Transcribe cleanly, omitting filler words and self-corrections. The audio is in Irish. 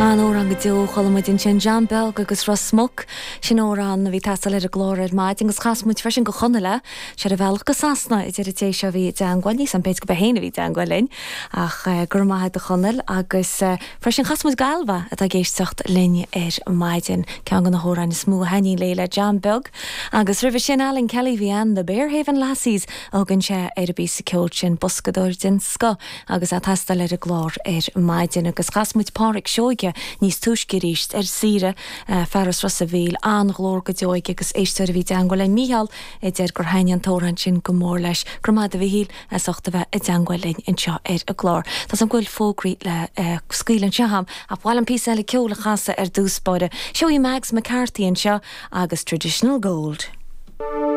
An-amhrán go deo, chuala muid ansin John Beag agus Ros Muc. Sin amhrán a bhí ag teastáil ar an gclár ar maidin agus chas muid freisin go Chonall é. Sé ar a bhealach go Sasana a deir an té seo a bhí i dteangmháil, níl 's a'm b'fhéidir go b'é féin a bhí i dteangmháil linn ach go raibh maith a'd a Chonaill agus freisin chas muid go Ailbhe atá ag éisteacht linn ar maidin, ceann de na hamhráin is mó a thaitníonn léi le John Beag agus roimhe sin Alan Kelly bhí ann, The Bearhaven Lassies a thugann sé ar an bpíosa ceoil sin, boscadóir den scoth agus é ag teastáil ar an gclár ar maidin agus chas muid Páraic Seoige níos túisce arís ar saoire, fear as Ros a' Mhíl, an-ghlór go deo aige agus éisteoir a bhí i dteangmháil linn, Mícheál, a deir gur thaitnigh an t-amhrán sin go mór leis. Go raibh maith agat a Mhíchíl as ucht a bheith i dteangmháil linn anseo ar an gclár. Tá 's agam go bhfuil fógraí le scaoileadh anseo agam ach ba mhaith liom píosa eile ceoil a chasadh ar dtús báire. Seo í Mags McCarthy anseo agus Traditional Gold.